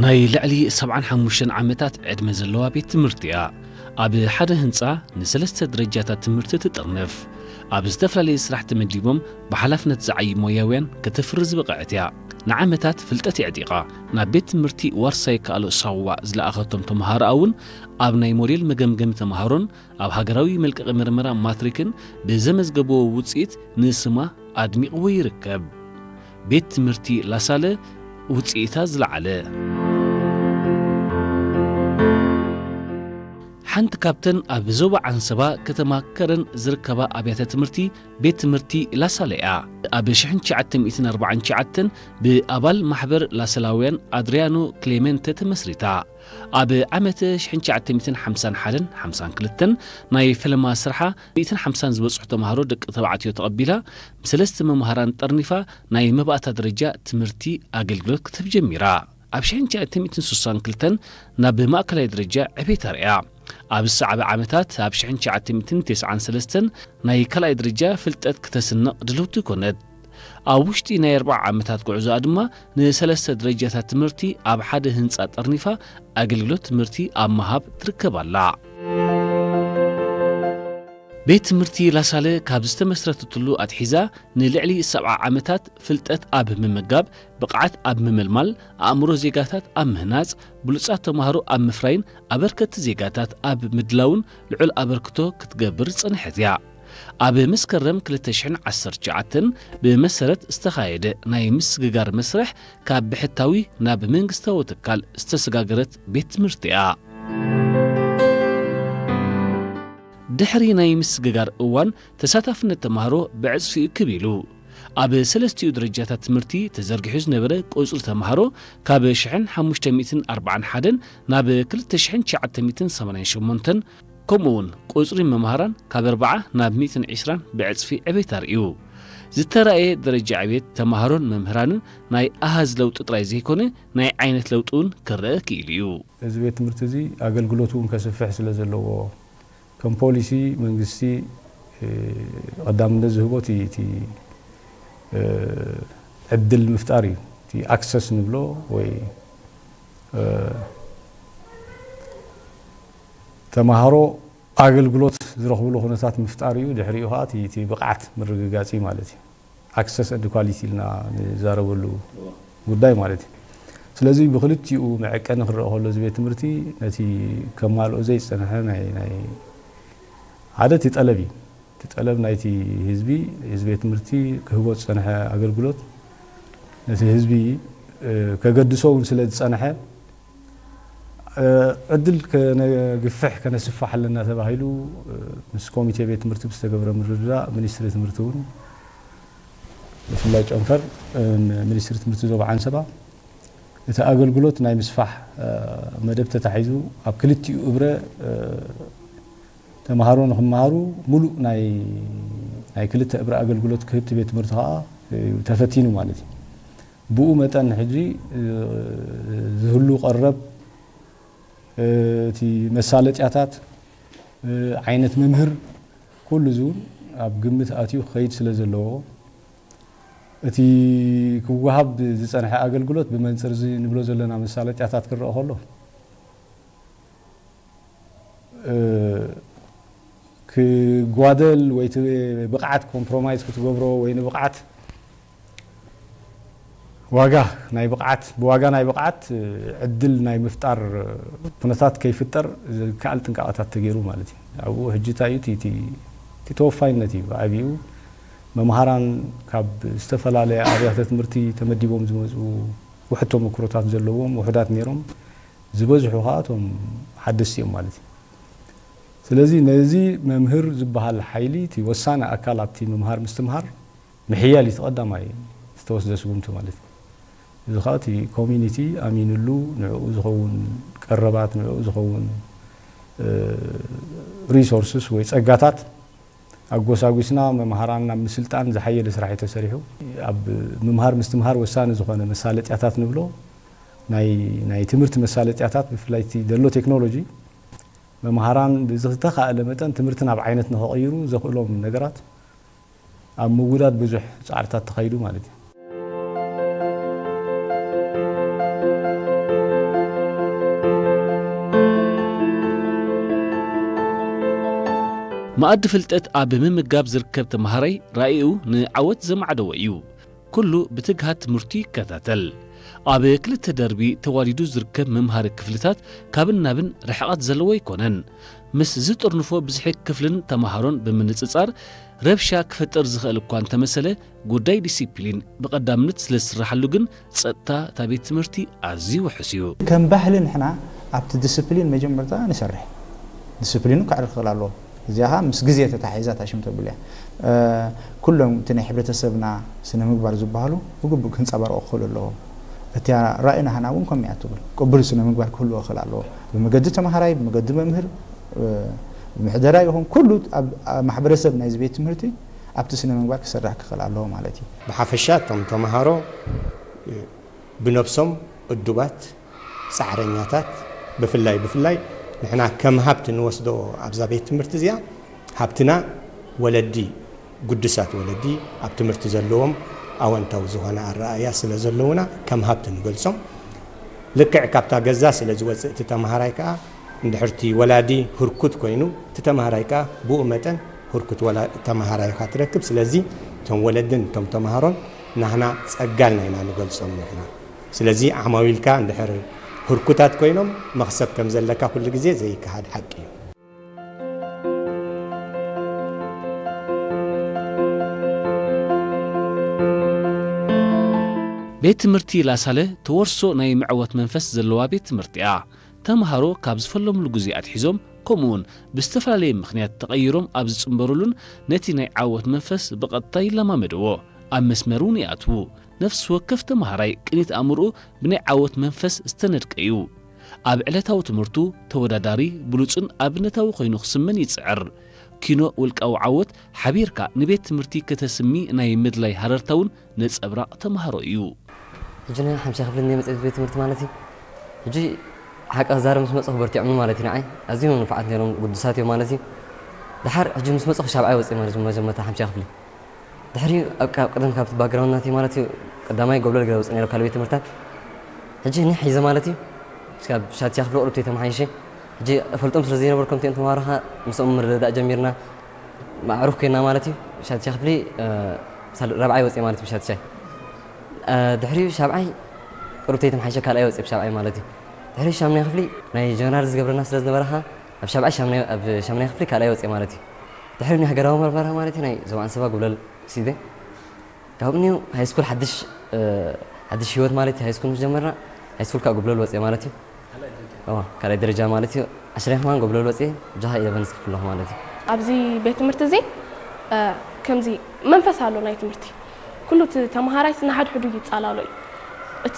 ናይ ልዕሊ ሰብዓን ሓሙሽተን ዓመታት ዕድመ ዘለዋ ቤት ትምህርቲ እያ። ኣብ ሓደ ህንጻ ንሰለስተ ደረጃታት ትምህርቲ ትጥርንፍ። ኣብ ዝተፈላለዩ ስራሕ ተመዲቦም ብሓላፍነት ዝዓዩ ሞያውያን ከተፍሪ ዝበቕዐት እያ። ንዓመታት ፍልጠት የዕጢቓ ናብ ቤት ትምህርቲ ዋርሳይ ካልኦ ሳዋ ዝለኣኸቶም ተምሃሮኣ እውን ኣብ ናይ ሞዴል መገምገሚ ተምሃሮን ኣብ ሃገራዊ መልቀቒ ምርመራ ማትሪክን ብዘመዝገብዎ ውፅኢት ንስማ ኣድሚቕዎ ይርከብ። ቤት ትምህርቲ ላሳለ ውፅኢታ ዝለዓለ። ሓንቲ ካብተን ኣብ ዞባ ዓንሰባ ከተማ ከረን ዝርከባ ኣብያተ ትምህርቲ ቤት ትምህርቲ ላሳለ እያ። ኣብ ሽሕን ትሽዓተ ሚእትን ኣርባዓን ትሽዓተን ብኣባል ማሕበር ላሰላውያን ኣድሪያኖ ክሌመንተ ተመስሪታ። ኣብ ዓመት ሽሕን ትሽዓተ ሚእትን ሓምሳን ሓደን ሓምሳን ክልተን ናይ ፈለማ ስርሓ ሚእትን ሓምሳን ዝበጽሑ ተምሃሮ ደቂ ተባዕትዮ ተቐቢላ፣ ብሰለስተ መምሃራን ጠርኒፋ ናይ መባእታ ደረጃ ትምህርቲ ኣገልግሎት ክትህብ ጀሚራ። ኣብ ሽሕን ትሽዓተ ሚእትን ስሳን ክልተን ናብ ማእከላይ ደረጃ ዕቤት ኣርእያ። ኣብ ዝሰዓበ ዓመታት ኣብ ሽሕን ትሽዓተ ሚእትን ተስዓን ሰለስተን ናይ ካልኣይ ደረጃ ፍልጠት ክተስንቕ ድልውቲ ኮነት። ኣብ ውሽጢ ናይ ኣርብዓ ዓመታት ጉዕዞኣ ድማ ንሰለስተ ደረጃታት ትምህርቲ ኣብ ሓደ ህንጻ ጠርኒፋ ኣገልግሎት ትምህርቲ ኣብ ምሃብ ትርከብ ኣላ። ቤት ትምህርቲ ላሳለ ካብ ዝተመስረተትሉ ኣትሒዛ ንልዕሊ ሰብዓ ዓመታት ፍልጠት ኣብ ምምጋብ፣ ብቕዓት ኣብ ምምልማል፣ ኣእምሮ ዜጋታት ኣብ ምህናጽ፣ ብሉጻት ተማሃሮ ኣብ ምፍራይን ኣበርከቲ ዜጋታት ኣብ ምድላውን ልዑል ኣበርክቶ ክትገብር ዝጸንሐት እያ። ኣብ መስከረም ክልተ ሽሕን ዓሰርተ ትሽዓተን ብመሰረት ዝተኻየደ ናይ ምስግጋር መስርሕ ካብ ብሕታዊ ናብ መንግስታዊ ትካል ዝተሰጋገረት ቤት ትምህርቲ እያ። ድሕሪ ናይ ምስግጋር እዋን ተሳታፍነት ተማሃሮ ብዕጽፊ ክብ ኢሉ። ኣብ ሰለስቲኡ ደረጃታት ትምህርቲ ተዘርጊሑ ዝነበረ ቁጽሪ ተማሃሮ ካብ ሽሕን ሓሙሽተ ሚእትን ኣርባዓን ሓደን ናብ ክልተ ሽሕን ትሽዓተ ሚእትን ሰማንያን ሸሞንተን፣ ከምኡ እውን ቁጽሪ መምሃራን ካብ ኣርብዓ ናብ ሚእትን ዕስራን ብዕጽፊ ዕቤት ኣርእዩ። ዝተራእየ ደረጃ ዕቤት ተማሃሮን መምህራንን ናይ ኣሃዝ ለውጢ ጥራይ ዘይኮነ ናይ ዓይነት ለውጢ እውን ክረአ ክኢሉ እዩ። እዚ ቤት ትምህርቲ እዚ ኣገልግሎቱ እውን ከስፍሕ ስለ ዘለዎ፣ ከም ፖሊሲ መንግስቲ፣ እ፣ ቀዳምነት ዝህቦ እቲ፣ እቲ፣ እ፣ ዕድል ምፍጣር እዩ። እቲ ኣክሰስ ንብሎ ወይ፣ እ፣ ተማሃሮ ኣገልግሎት ዝረኽብሉ ኩነታት ምፍጣር እዩ። ድሕሪኡ ኸዓ እቲ፣ እቲ ብቕዓት ምርግጋጽ እዩ ማለት እዩ። ኣክሰስ ኤንድ ኳሊቲ ኢልና ንዛረበሉ ጉዳይ ማለት እዩ። ስለዚ ብክልቲኡ መዐቀኒ ክረአ ከሎ እዚ ቤት ትምህርቲ ነቲ ከማልኦ ዘይጸንሐ ናይ፣ ናይ ሓደ እቲ ጠለብ እዩ። እቲ ጠለብ ናይቲ ህዝቢ፣ እዚ ቤት ትምህርቲ ክህቦ ዝጸንሐ ኣገልግሎት ነቲ ህዝቢ፣ እ፣ ከገድሶ እውን ስለ ዝጸንሐ፣ እ፣ ዕድል ከነግፍሕ ከነስፍሕ ኣለና ተባሂሉ፣ እ፣ ምስ ኮሚቴ ቤት ትምህርቲ ብዝተገብረ ምርድዳእ ሚኒስትሪ ትምህርቲ እውን ብፍላይ ጨንፈር፣ እ፣ ሚኒስትሪ ትምህርቲ ዞባ ዓንሰባ እቲ ኣገልግሎት ናይ ምስፋሕ፣ እ፣ መደብ ተታሒዙ ኣብ ክልቲኡ እብረ፣ እ፣ ተምሃሮ ንኽመሃሩ ሙሉእ ናይ፣ ናይ ክልተ እብረ ኣገልግሎት ክህብ እቲ ቤት ትምህርቲ ከዓ እዩ ተፈቲኑ ማለት እዩ። ብኡ መጠን ሕጂ፣ እ፣ ዝህሉ ቀረብ፣ እ፣ እቲ መሳለጥያታት፣ እ፣ ዓይነት መምህር ኩሉ እዚ እውን ኣብ ግምት ኣትዩ ክኸይድ ስለ ዘለዎ እቲ ክወሃብ ዝጸንሐ ኣገልግሎት ብመንጽር እዚ ንብሎ ዘለና መሳለጥያታት ክረአ ከሎ፣ እ፣ ክጓደል ወይ እቲ ብቕዓት ኮምፕሮማይዝ ክትገብሮ ወይ ንብቕዓት ዋጋ ናይ ብቕዓት፣ ብዋጋ ናይ ብቕዓት ዕድል ናይ ምፍጣር ኩነታት ከይፍጠር ዝከኣል ጥንቃቐታት ተገይሩ ማለት እዩ። ኣብኡ ሕጂ እንታይ እዩ እቲ፣ እቲ፣ እቲ ተወፋይነት እዩ ብዓቢኡ። መምሃራን ካብ ዝተፈላለያ ኣብያተ ትምህርቲ ተመዲቦም ዝመፁ ውሑድ ተመክሮታት ዘለዎም ውሑዳት ነይሮም፣ ዝበዝሑ ከዓ እቶም ሓደስቲ እዮም ማለት እዩ። ስለዚ ነዚ መምህር ዝበሃል ሓይሊ እቲ ወሳኒ ኣካል ኣብቲ ምምሃር ምስትምሃር ምሕያል እዩ እቲ ቀዳማይ ዝተወስደ ስጉምቲ ማለት እዩ። እዚ ከዓ እቲ ኮሚኒቲ ኣሚንሉ ንዕኡ ዝኸውን ቀረባት፣ ንዕኡ ዝኸውን፣ እ፣ ሪሶርስስ ወይ ጸጋታት ኣጎሳጒስና መምሃራን ናብ ምስልጣን ዝሓየለ ስራሕ እዩ ተሰሪሑ። ኣብ ምምሃር ምስትምሃር ወሳኒ ዝኾነ መሳለጥያታት ንብሎ ናይ፣ ናይ ትምህርቲ መሳለጥያታት ብፍላይ እቲ ዘሎ ቴክኖሎጂ መምሃራን ብዝተኻእለ መጠን ትምህርቲ ናብ ዓይነት ንኸቕይሩ ዘኽእሎም ነገራት ኣብ ምውዳድ ብዙሕ ጻዕርታት ተኻይዱ ማለት እዩ። መኣዲ ፍልጠት ኣብ ምምጋብ ዝርከብ ተምሃራይ ራእዩ ንዓወት ዘማዕደወ እዩ። ኩሉ ብትግሃት ትምህርቱ ይከታተል። ኣብ ክልተ ደርቢ ተዋዲዱ ዝርከብ መምሃሪ ክፍልታት ካብን ናብን ርሕቐት ዘለዎ ኣይኮነን። ምስ ዝጥርንፎ ብዝሒ ክፍልን ተምሃሮን ብምንጽጻር ረብሻ ክፈጥር ዝኽእል እኳ እንተመሰለ፣ ጉዳይ ዲሲፕሊን ብቐዳምነት ስለ ዝስራሓሉ ግን ጸጥታ እታ ቤት ትምህርቲ ኣዝዩ ውሑስ እዩ። ከም ባህሊ ንሕና ኣብቲ ዲሲፕሊን መጀመርታ ንሰርሕ። ዲሲፕሊኑ ክዕርፍ ክኽእል ኣለዎ። እዚኣ ኸኣ ምስ ግዜ ተታሒዛ እታ ሽም ተብል እያ። እ፣ ኩሎም እቲ ናይ ሕብረተሰብና ስነ ምግባር ዝበሃሉ ብግቡእ ክንጸባረቑ ክኽእሉ ኣለዎም። እቲኣ ራእይና ሃና እውን ከምኡ እያ ትብል። ቅቡል ስነ ምግባር ክህልዎ ክኽእል ኣለዎ። ብመገዲ ተምሃራይ፣ ብመገዲ መምህር፣ እ፣ ብምሕደራ ይኹን ኩሉ ኣብ፣ ኣብ ማሕበረሰብ ናይዚ ቤት ትምህርቲ ኣብቲ ስነ ምግባር ክሰርሕ ክኽእል ኣለዎ ማለት እዩ። ብሓፈሻ እቶም ተምሃሮ ብነብሶም እዱባት፣ ጻዕረኛታት፣ ብፍላይ፣ ብፍላይ ንሕና ከም ሃብቲ ንወስዶ ኣብዛ ቤት ትምህርቲ እዚኣ፣ ሃብትና ወለዲ፣ ግዱሳት ወለዲ ኣብ ትምህርቲ ዘለዎም ኣወንታዊ ዝኾነ ኣረኣእያ ስለ ዘለዉና ከም ሃብቲ ንገልጾም። ልክዕ ካብታ ገዛ ስለ ዝወጽእ እቲ ተምሃራይ ከኣ፣ እንድሕር እቲ ወላዲ ህርኩት ኮይኑ፣ እቲ ተምሃራይ ከኣ ብኡ መጠን ህርኩት ወላ-፣ ተምሃራይ ኢኻ ትረክብ። ስለዚ እቶም ወለድን እቶም ተምሃሮን ናህና ጸጋ ኢልና ኢና ንገልጾም ንሕና። ስለዚ ዓማዊልካ እንድሕር ህርኩታት ኮይኖም መኽሰብ ከም ዘለካ ኩሉ ግዜ ዘይከሓድ ሓቂ እዩ። ቤት ትምህርቲ ላሳለ ተወርሶ ናይ መዕወት መንፈስ ዘለዋ ቤት ትምህርቲ እያ። ተምሃሮ ካብ ዝፈለምሉ ግዜ ኣትሒዞም፣ ከምኡውን ብዝተፈላለየ ምኽንያት ተቐይሮም ኣብ ዝጽንበሩሉን ነቲ ናይ ዓወት መንፈስ ብቐጥታ ይለማመድዎ፣ ኣብ መስመር እውን ይኣትዉ። ነፍሲ ወከፍ ተምሃራይ ቅኒት ኣእምሮኡ ብናይ ዓወት መንፈስ ዝተነድቀ እዩ። ኣብ ዕለታዊ ትምህርቱ ተወዳዳሪ፣ ብሉጽን ኣብነታዊ ኮይኑ ክስመን ይጽዕር። ኪኖ ውልቃዊ ዓወት ሓቢርካ ንቤት ትምህርቲ ከተስሚ ናይ ምድላይ ሃረርታ እውን ነጸብራቕ ተምሃሮ እዩ። ሕጂ ናይ ሓምሻ ክፍሊ እንደ መጽሔት ቤት ትምህርቲ ማለት እዩ። ሕጂ ሓቂ ክዛረብ ምስ መጽኹ በርቲዖም ማለት እዩ ንዓይ። ኣዝዮም ንፉዓት ነይሮም፣ ግዱሳት እዮም ማለት እዩ። ደሓር ሕጂ ምስ መጽኹ ሻብዓይ ወጽእ ማለት እዩ፣ መጀመርታ ሓምሻ ክፍሊ። ድሕሪኡ ኣብ ቃ-፣ ቅድም ካብቲ ባክግራውንድ ናተይ ማለት እዩ፣ ቀዳማይ ጎብለል ገለ ወጽእ ነይረ ካልእ ቤት ትምህርታት። ሕጂ ኒሕ ሒዘ ማለት እዩ። እስካብ ሻድሻ ክፍሊ ቁሩብ ተተመሓይሸ። ሕጂ እፈልጦም ስለ ዘይነበርኩም እቲኦም ተምሃሮ ኸኣ ምስኦም ምርድዳእ ጀሚርና። ማዕሩፍ ኮይና ማለት እዩ። ሻድሻ ክፍሊ፣ እ፣ ሳል-፣ ራብዓይ ወጽእ ማለት እዩ ብሻድሻይ። እ፣ ድሕሪኡ ሻብዓይ ቁሩብ ተተመሓይሸ ካልኣይ ወጽእ ብሻብዓይ ማለት እዩ። ድሕሪኡ ሻምናይ ክፍሊ ናይ ጀነራል ዝገብረና ስለ ዝነበረ ኸኣ ኣብ ሻብዓይ ሻምናይ፣ ኣብ ሻምናይ ክፍሊ ካልኣይ ወጽእ ማለት እዩ። ድሕሪኡ ናይ ሃገራዊ መርመራ ማለት እዩ ናይ ዞባ ኣንሰባ ጉብለል ሲደ። ካብኡ እኒኦ ሃይስኩል ሓድሽ፣ እ፣ ሓድሽ ህይወት ማለት እዩ። ሃይስኩል ምስ ጀመርና፣ ሃይስኩል ካብ ጎብለል ወፅየ ማለት እዩ። እዋ፣ ካልኣይ ደረጃ ማለት እዩ። ዓሽራይ ከማን ጎብለል ወፅየ፣ ጃሃ ኢለቨን ዝክፍል ኣለኹ ማለት እዩ። ኣብዚ ቤት ትምህርቲ እዚ፣ እ፣ ከምዚ መንፈስ ኣሎ ናይ ትምህርቲ። ኩሉ እቲ ተምሃራይ ንሓድሕዱ ይጻላሎ እዩ።